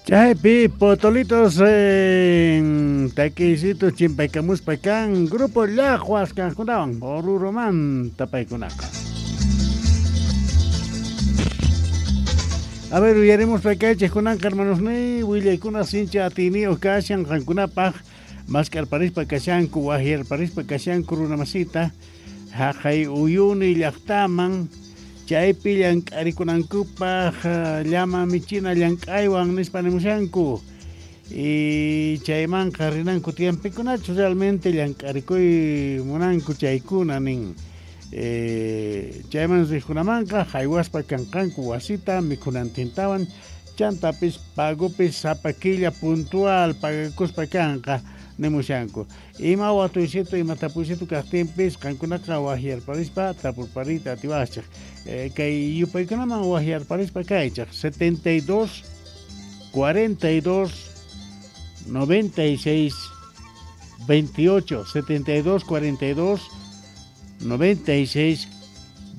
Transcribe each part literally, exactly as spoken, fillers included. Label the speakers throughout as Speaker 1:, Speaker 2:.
Speaker 1: Chaypi potolitos en taquisitos chimpaykamuspa kan grupo Llajuas kankunawan Oruromanta paykunaqa. A ver, uyaremos pakaychik kunanqa hermanos ni willaykuna sincha atiniyuq kashan qankunapaq maskarparispa kashanku wahyarparispa kashanku runamasita haqay uyuni llaqtaman chaypi llank'arikunankupaq llama michina llank'aywan nispa nimushanku y chaymanqa rinanku tiyampikunachu realmente llank'arikuy munanku chaykuna nin eh, chayman riqkunamanqa haywaspa kanqanku wasita mikhunantintawan chantapis pagopis sapa killa puntual pagakuspa kanqa nimushanku ima watuysitu ima tapuysitu kaqtinpis qankunaqa wahyarparispa tapurparita atiwachik eh, kay yupaykunaman wahyarparispa kaychik setenta y dos, cuarenta y dos, noventa y seis, veintiocho setenta y dos, cuarenta y dos, noventa y seis,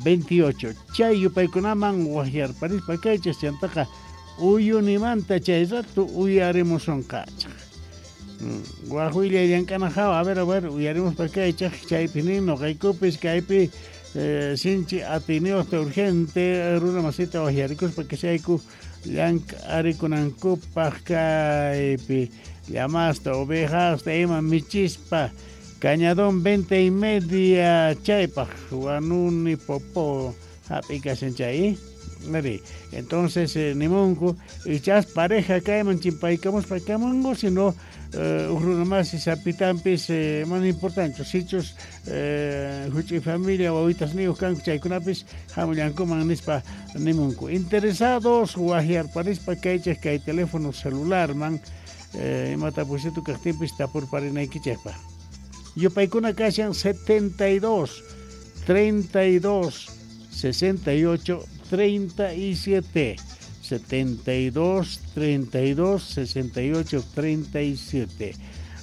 Speaker 1: veintiocho chay yupaykunaman wahyarparispa kaychik chantaqa uyunimanta chay rato uyarimusunqachik. Guajuilla llank'ana hawa, a ver, a ver, uyarimus pakaychik chaypi nin nuqaykupis kaypi eh, sinchi atiniyuqta urgente runa masita wahyarikuspa kashayku llank'arikunankupaq kaypi llamasta ovejasta ima michispa cañadón veinte y media chaypaq wanuni popo hap'i kashan chay. Entonces eh, nimunku ichas pareja kayman chimpaykamuspa kamunku sino eh, uj runa masi sapitampis eh, mana importante sichus eh, huch'i familia wawitas niyuq kanku chaykunapis hamullankuman nispa nimunku interesados wahyarparispa kaychik kay teléfono celularman eh, ima tapuysitu kaqtinpis tapurparinaykichikpaq yupaykuna kashan setenta y dos, treinta y dos, sesenta y ocho, treinta y siete, setenta y dos, treinta y dos, sesenta y ocho, treinta y siete.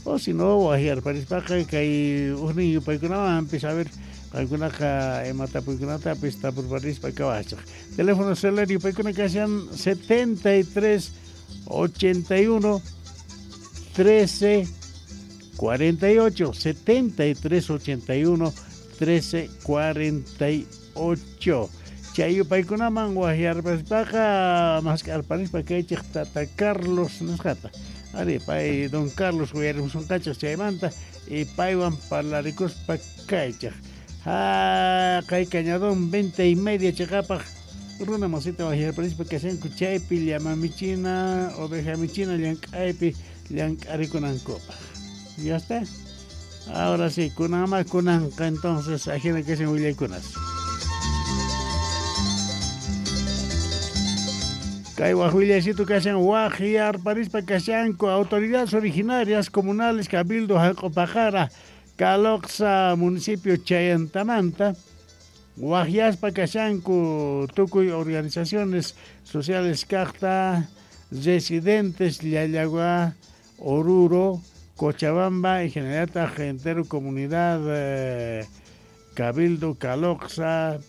Speaker 1: O si no, wahyarparispaqa kay ujnin yupaykunawanpis a ver qankunaqa ima tapuykunatapis tapurparispa kawachik. Teléfono celular yupaykuna kashan setenta y tres, ochenta y uno, trece, cuarenta y ocho, setenta y tres, ochenta y uno, trece, cuarenta y ocho. Chay yupaykunaman wahyarparispaqa maskarparispa kaychik tata Carlos nisqata. Ari pay don Carlos uyarimusunqachik chaymanta y paywan parlarikuspa kaychik. Ha kay cañadón veinte y media chiqapaq runa masita wahyarparispa kashanku chaypi llama michina oveja michina llank'aypi llank'arikunankupaq. ¿Ya está? Ahora sí, kunanma kunanqa entonces ajina kashan willaykunas. Kay wajwillaysitu kashan wahyarparispa kashanku autoridades originarias comunales Cabildo Jalq'upaqara Caloxa municipio Chayantamanta wahyaspa kashanku tukuy organizaciones sociales kaqta residentes Llallagua, Oruro, Cochabamba y generalta entero comunidad eh, Cabildo Caloxa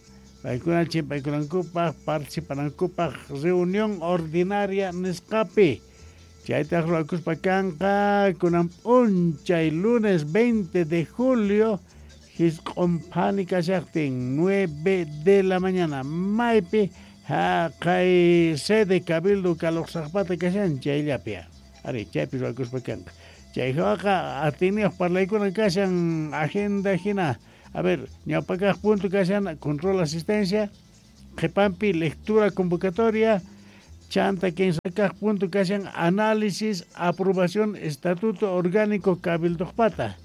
Speaker 1: paykuna chimpaykunankupaq participanankupaq reunión ordinaria nisqapi chaytaq ruwakuspa kanqa kunan p'unchay lunes veinte de julio hisq'unphani kashaqtin nueve de la mañana maypi haqay sede Cabildo Caloxaqpata kashan chayllapi ari chaypi ruwakuspa kanqa chay hawaqa atiniyuq parlaykuna kashan agenda hina. A ver, ñawpakaq punto kashan control asistencia, qhipanpi lectura convocatoria, chanta kinsakaq punto kashan análisis, aprobación, estatuto orgánico cabildoqpata.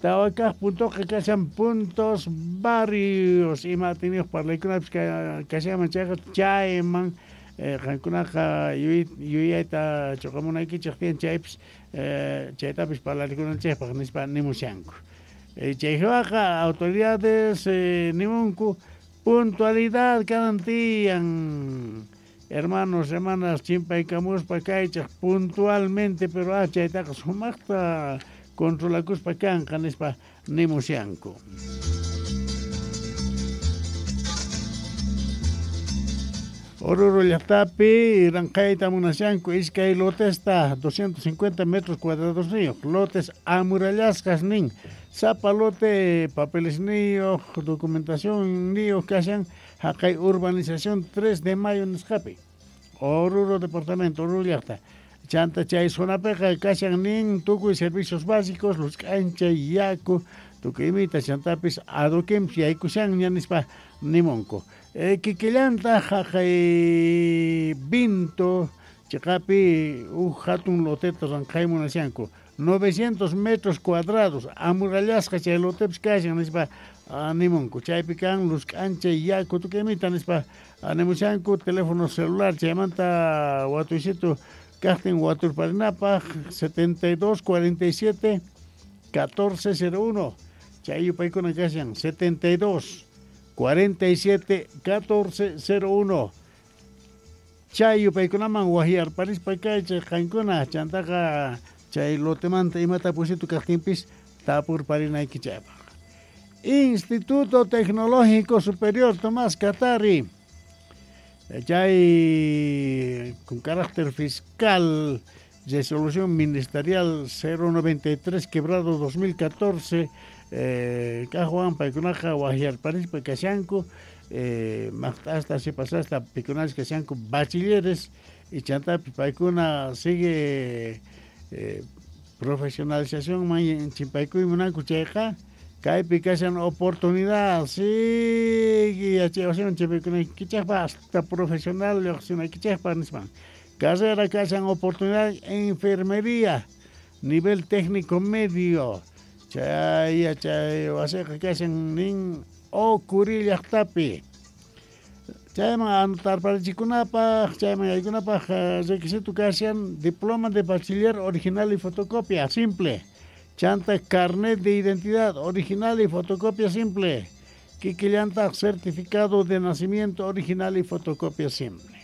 Speaker 1: Tawakaq puntoqa kashan puntos varios ima atiniyuq parlaykunapis kashanman chayqa chayman eh, qankunaqa yuyayta chuqamunaykichik tiyan chaypis eh, chaytapis parlarikunanchikpaq nispa nimushanku. Chay hawaqa autoridades eh, nimunku puntualidad kanan tiyan hermanos, hermanas chimpaykamuspa kaychik puntualmente pero ah chaytaqa sumaqta controlakuspa kanqa nispa nimushanku. Oruro llaqtapi ranqayta munashanku iskay lotesta doscientos cincuenta metros cuadrados niyuq, lotes amurallasqas nin, sapa lote papeles niyuq, documentación niyuq kashan haqay urbanización tres de mayo nisqapi, Oruro departamento, Oruro llaqta. Chanta chay zonapiqa kashan nin tukuy servicios básicos, luz k'ancha, yaku, tukuy imita, chantapis adoquinpis yaykushanña nispa nimunku. Eh, kikillanta haqay Vinto chiqapi huk hatun loteta ranqay munashanku, novecientos metros cuadrados amurallasqa chay lotepis kashan nispa nimunku. Chaypi kan luz k'ancha, yaku, tukuy imita nispa nimushanku. Teléfono celular chaymanta watuysitu kaqtin waturparinapaq setenta y dos cuarenta y siete catorce cero uno, chay yupaykuna kashan setenta y dos cuarenta y siete catorce cero uno. Chay yupaykunaman wahyarparispa kaychay qankuna chantaqa chay lotemanta imata pusitu kaqtinpis tapurparinaykichaypaq. Instituto Tecnológico Superior Tomás Katari, chay con carácter fiscal, resolución ministerial cero noventa y tres quebrado dos mil catorce, eh, kajwan paykunaqa wahyarparispa kashanku, eh, maqt'asta sipasasta pikunash kashanku bachilleres y chantapi paykuna sigue eh, profesionalización man chimpaykuy munanku chayqa kaypi kashan oportunidad sigue yachaywasiman chimpaykunaykichaqpa hasta profesional lluqsinaykichaqpa nispan. Carrera kashan oportunidad enfermería nivel técnico medio chay yachay wasiqa kashan nin Ocuri llaqtapi. Chayman anotarparichikunapaq, chayman yaykunapaq requisito kashan diploma de bachiller original y fotocopia simple, chanta carnet de identidad original y fotocopia simple, kikillantaq certificado de nacimiento original y fotocopia simple.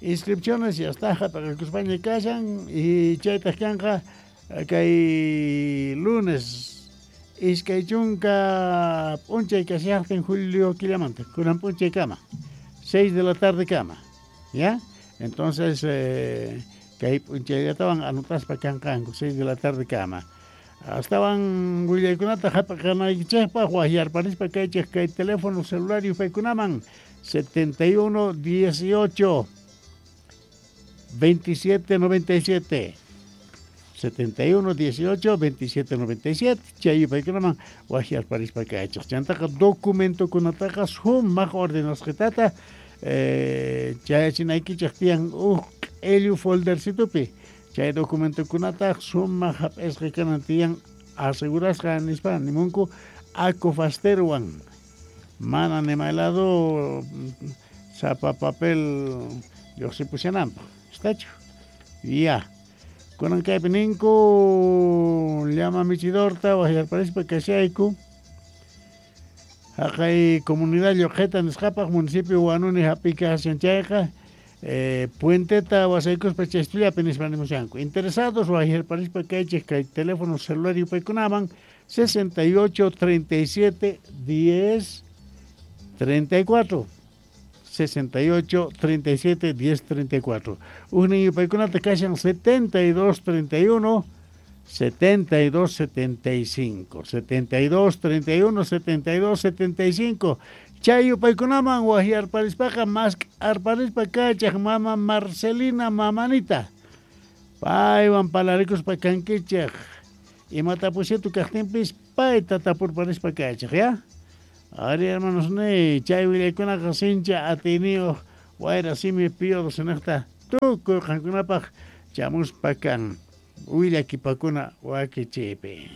Speaker 1: Inscripciones ya está hap'aqakuspaña kashan y chaytaq kanqa kay lunes iskay chunka p'unchay kashaqtin julio killamanta, kunan p'unchay kama, seis de la tarde kama, ¿ya? Entonces, eh, kay p'unchayllatawan anotaspa kanqanku, seis de la tarde kama. Astawan willaykunata hap'aqanaykichikpaq wahyarparispa kaychik kay teléfono celular yupaykunaman setenta y uno dieciocho veintisiete noventa y siete. setenta y uno dieciocho veintisiete noventa y siete chay yupaykunaman wahyarparispa kaychik. Chantaqa documentokunataqa sumaq ordenasqitata eh, chayachinaykichik tiyan huk q'illu foldercitupi, chay documentokunata sumaq hap'isqa kanan tiyan asegurasqa nispa nimunku acofasterwan, mana nimaylado sapa papel lluqsipushananpaq, ¿estachu? Ya. Kunan kaypi ninku llama michidorta wahyarparispa kashayku haqay comunidad Lluqhita nisqapaq municipio Huanuni hap'ikashan chayqa eh, puenteta wasaykuspa chaystullapi nispa nimushanku. Interesados wahyarparispa kaychik kay teléfono celular yupaykunaman sesenta y ocho treinta y siete diez treinta y cuatro. sesenta y ocho treinta y siete diez treinta y cuatro. Ujnin yupaykunata kashan setenta y dos treinta y uno setenta y dos setenta y cinco. setenta y dos treinta y uno setenta y dos setenta y cinco. Chay yupaykunaman wahyarparispaqa mas arparispa kachaq mama Marcelina mamanita. Paywan palarikuspa kankichaq. Imata pusitu kaqtinpis payta tapurparispa kachaq, ya? Ari hermanos ne, chay willaykunaqa sincha atiniyuq wayra simi pío docenaqta tukuy qankunapaq chamuspa kan willakipakuna wakichiypi.